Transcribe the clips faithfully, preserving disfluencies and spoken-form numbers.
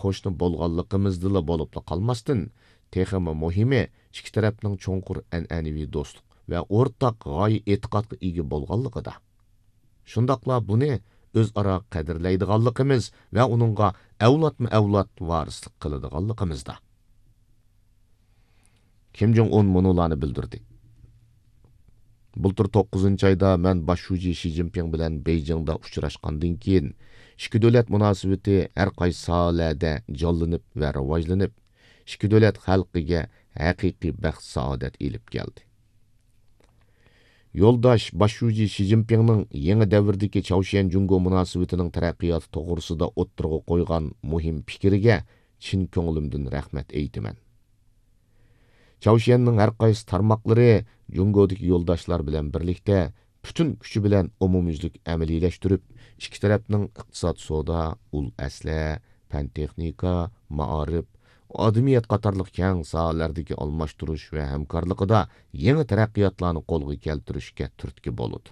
قوشنا بولغانلىقىمىزدىلا بولۇپلا قالماستىن، تېخىمۇ مۇھىمى، ئىككى تەرەپنىڭ چوڭقۇر ئەنئەنىۋى دوستلۇق ۋە ئورتاق غايە ئېتىقادقا ئىگە بولغانلىقىدا. شۇنداقلا بۇنى ئۆزئارا قەدىرلەيدىغانلىقىمىز ۋە ئۇنىڭغا ئەۋلادمۇ ئەۋلاد ۋارىسلىق قىلىدىغانلىقىمىزدا. كىم جوڭ ئۇن مۇنۇلارنى بىلدۈردى. بۇلتۇر توققۇزىنچى ئايدا مەن باش شۇجى شى جىنپىڭ بىلەن بېيجىڭدا ئۇچراشقاندىن كېيىن، ئىككى دۆلەت مۇناسىۋىتى ھەر قايسى ساھەلەردە جانلىنىپ ۋە راۋاجلىنىپ، ئىككى دۆلەت خەلقىگە ھەقىقىي بەخت-سائادەت ئېلىپ كەلدى. يولداش باش شۇجى شى جىنپىڭنىڭ يېڭى دەۋردىكى چاۋشيەن جۇڭگو مۇناسىۋىتىنىڭ تەرەققىياتى توغرىسىدا ئوتتۇرىغا قويغان مۇھىم پىكرىگە چىن كۆڭلۈمدىن رەھمەت ئېيتىمەن. چاۋشيەننىڭ ھەر قايسى تارماقلىرى جۇڭگودىكى يولداشلار بىلەن بىرلىكتە پۈتۈن كۈچى بىلەن ئومۇميۈزلۈك ئەمەلىيلەشتۈرۈپ، ئىككى تەرەپنىڭ ئىقتىساد، سودا، ئۇل ئەسلىھە، پەن تېخنىكا، مائارىپ، ئادىمىيەت قاتارلىق كەڭ ساھەلەردىكى ئالماشتۇرۇش ۋە ھەمكارلىقىدا يېڭى تەرەققىياتلارنى قولغا كەلتۈرۈشكە تۈرتكە بولىدۇ.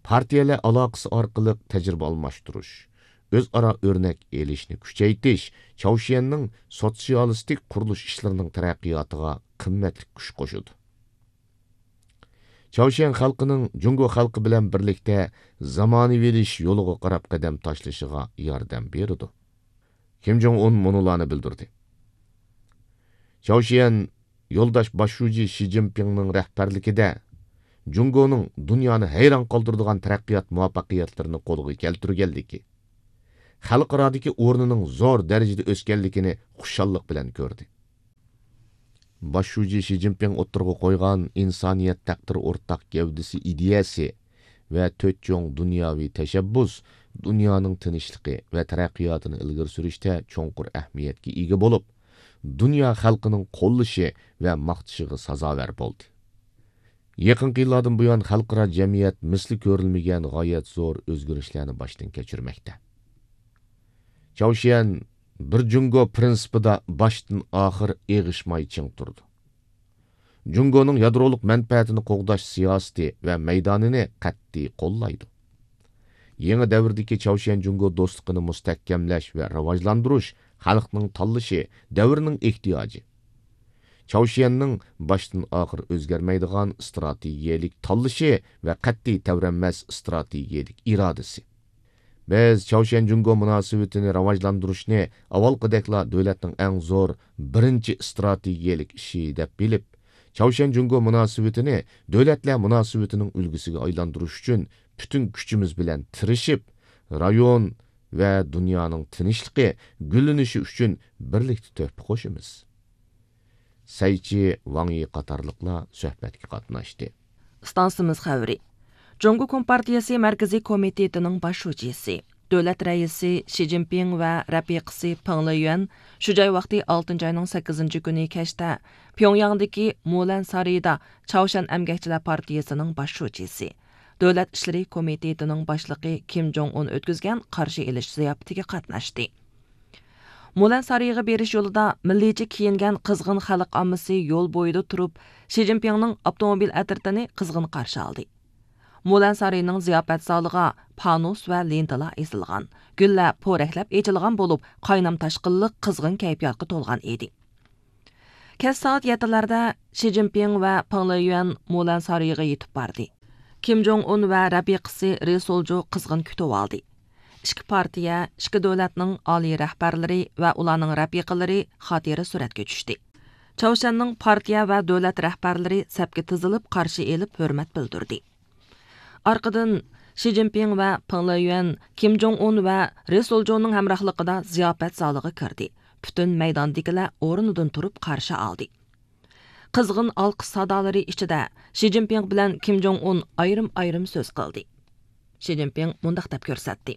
پارتىيەلەر ئالاقىسى ئارقىلىق تەجرىبە ئالماشتۇرۇش، ئۆزئارا ئۆرنەك ئېلىشنى كۈچەيتىش چاۋشيەننىڭ سوتسىيالىستىك قۇرۇلۇش ئىشلىرىنىڭ تەرەققىياتىغا قىممەتلىك كۈچ قوشىدۇ. چاۋشيەن خەلقىنىڭ جۇڭگو خەلقى بىلەن بىرلىكتە زامانىۋىلىشىش يولىغا قاراپ قەدەم تاشلىشىغا ياردەم بېرىدۇ. كىم جوڭ ئۇن مۇنۇلارنى بىلدۈردى. چاۋشيەن يولداش باش شۇجى شى جىنپىڭنىڭ رەھبەرلىكىدە جۇڭگونىڭ دۇنيانى ھەيران قالدۇرىدىغان تەرەققىيات مۇۋەپپەقىيەتلىرىنى قولغا كەلتۈرگەنلىكى، خەلقئارادىكى ئورنىنىڭ زور دەرىجىدە ئۆسكەنلىكىنى خۇشاللىق بىلەن كۆردى. باش شۇجى شى جىنپىڭ ئوتتۇرىغا قويغان ئىنسانىيەت تەقدىرى ئورتاق گەۋدىسى ئىدىيەسى ۋە تۆت چوڭ دۇنياۋى تەشەببۇس دۇنيانىڭ تىنچلىقى ۋە تەرەققىياتىنى ئىلگىرى سۈرۈشتە چوڭقۇر ئەھمىيەتكە ئىگە بولۇپ، دۇنيا خەلقىنىڭ قوللىشى ۋە ماختىشىغا سازاۋەر بولدى. يېقىنقى يىللاردىن بۇيان، خەلقئارا جەمئىيەت مىسلى كۆرۈلمىگەن غايەت زور ئۆزگىرىشلەرنى باشتىن كەچۈرمەكتە. چاۋشيەن بىر جۇڭگو پىرىنسىپىدا باشتىن ئاخىر ئېغىشماي چىڭ تۇرىدۇ. جۇڭگونىڭ يادرولۇق مەنپەئەتىنى قوغداش سىياسىتى ۋە مەيدانىنى قەتئىي قوللايدۇ. يېڭى دەۋردىكى چاۋشيەن جۇڭگو دوستلۇقىنى مۇستەھكەملەش ۋە راۋاجلاندۇرۇش خەلقنىڭ تاللىشى، دەۋرنىڭ ئېھتىياجى. چاۋشيەننىڭ باشتىن ئاخىر ئۆزگەرمەيدىغان ئىستراتېگىيەلىك تاللىشى ۋە قەتئىي تەۋرەنمەس ئىستراتېگىيەلىك ئىرادىسى. بىز چاۋشيەن جۇڭگو مۇناسىۋىتىنى راۋاجلاندۇرۇشنى ئاۋۋالقىدەكلا دۆلەتنىڭ ئەڭ زور بىرىنچى ئىستراتېگىيەلىك ئىشى دەپ بىلىپ، چاۋشيەن جۇڭگو مۇناسىۋىتىنى دۆلەتلەر مۇناسىۋىتىنىڭ ئۈلگىسىگە ئايلاندۇرۇش ئۈچۈن پۈتۈن كۈچىمىز بىلەن تىرىشىپ، رايون ۋە دۇنيانىڭ تىنچلىقى، گۈللىنىشى ئۈچۈن بىرلىكتە تۆھپە قوشىمىز. سەيچى ۋاڭ يى قاتارلىقلار سۆھبەتكە قاتناشتى. ئىستانسىمىز خەۋىرى. جۇڭگو كومپارتىيىسى مەركىزىي كومىتېتىنىڭ باش شۇجىسى، دۆلەت رەئىسى شى جىنپىڭ ۋە رەپىقىسى پېڭ لېيۈەن شۇ جاي ۋاقتى ئالتىنچى ئاينىڭ سەككىزىنچى كۈنى كەچتە پيۇڭياڭدىكى مۇلەن سارىيىدا چاۋشيەن ئەمگەكچىلەر پارتىيىسىنىڭ باش شۇجىسى، دۆلەت ئىشلىرى كومىتېتىنىڭ باشلىقى كىم جوڭ ئۇن ئۆتكۈزگەن قارشى ئېلىش زىياپىتىگە قاتناشتى. مۇلەن سارىيىغا بېرىش يولىدا مىللىيچە كىيىنگەن قىزغىن خەلق ئاممىسى يول بويىدا تۇرۇپ، شى جىنپىڭنىڭ ئاپتوموبىل ئەترىتىنى قىزغىن قارشى ئالدى. مۇلەن سارىيىنىڭ زىياپەت زالىغا پانۇس ۋە لېنتىلار ئېسىلغان، گۈللەر پورەكلەپ ئېچىلغان بولۇپ، قاينام تاشقىنلىق قىزغىن كەيپىياتقا تولغان ئىدى. كەچ سائەت يەتتىلەردە شى جىنپىڭ ۋە پېڭ لېيۈەن مۇلەن سارىيىغا يېتىپ باردى. كىم جوڭ ئۇن ۋە رەپىقىسى رى سولجۇ قىزغىن كۈتۈۋالدى. ئىككى پارتىيە، ئىككى دۆلەتنىڭ ئالىي رەھبەرلىرى ۋە ئۇلارنىڭ رەپىقىلىرى خاتىرە سۈرەتكە چۈشتى. چاۋشيەننىڭ پارتىيە ۋە دۆلەت رەھبەرلىرى سەپكە تىزىلىپ قارشى ئېلىپ ھۆرمەت بىلدۈردى. ئارقىدىن شى جىنپىڭ ۋە پېڭ لېيۈەن كىم جوڭ ئۇن ۋە رى سولجۇنىڭ ھەمراھلىقىدا زىياپەت زالىغا كىردى. پۈتۈن مەيداندىكىلەر ئورنىدىن تۇرۇپ قارشى ئالدى. قىزغىن ئالقىش سادالىرى ئىچىدە شى جىنپىڭ بىلەن كىم جوڭ ئۇن ئايرىم-ئايرىم سۆز قىلدى. شى جىنپىڭ مۇنداق دەپ كۆرسەتتى: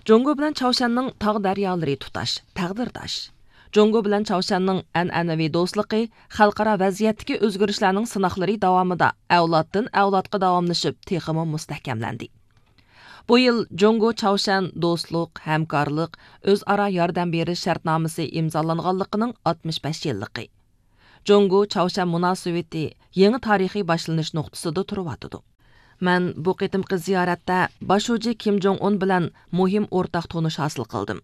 جۇڭگو بىلەن چاۋشيەننىڭ تاغ دەريالىرى تۇتاش، تەقدىرداش. جۇڭگو بىلەن چاۋشيەننىڭ ئەنئەنىۋى دوستلۇقى خەلقئارا ۋەزىيەتتىكى ئۆزگىرىشلەرنىڭ سىناقلىرى داۋامىدا ئەۋلادتىن ئەۋلادقا داۋاملىشىپ، تېخىمۇ مۇستەھكەملەندى. بۇ يىل جۇڭگو چاۋشيەن دوستلۇق، ھەمكارلىق، ئۆزئارا ياردەم بېرىش شەرتنامىسى ئىمزالانغانلىقىنىڭ ئاتمىش بەش يىللىقى. جۇڭگو چاۋشيەن مۇناسىۋىتى يېڭى تارىخىي باشلىنىش نۇقتىسىدا تۇرۇۋاتىدۇ. مەن بۇ قېتىمقى زىيارەتتە باش شۇجى كىم جوڭ ئۇن بىلەن مۇھىم ئورتاق تونۇش ھاسىل قىلدىم.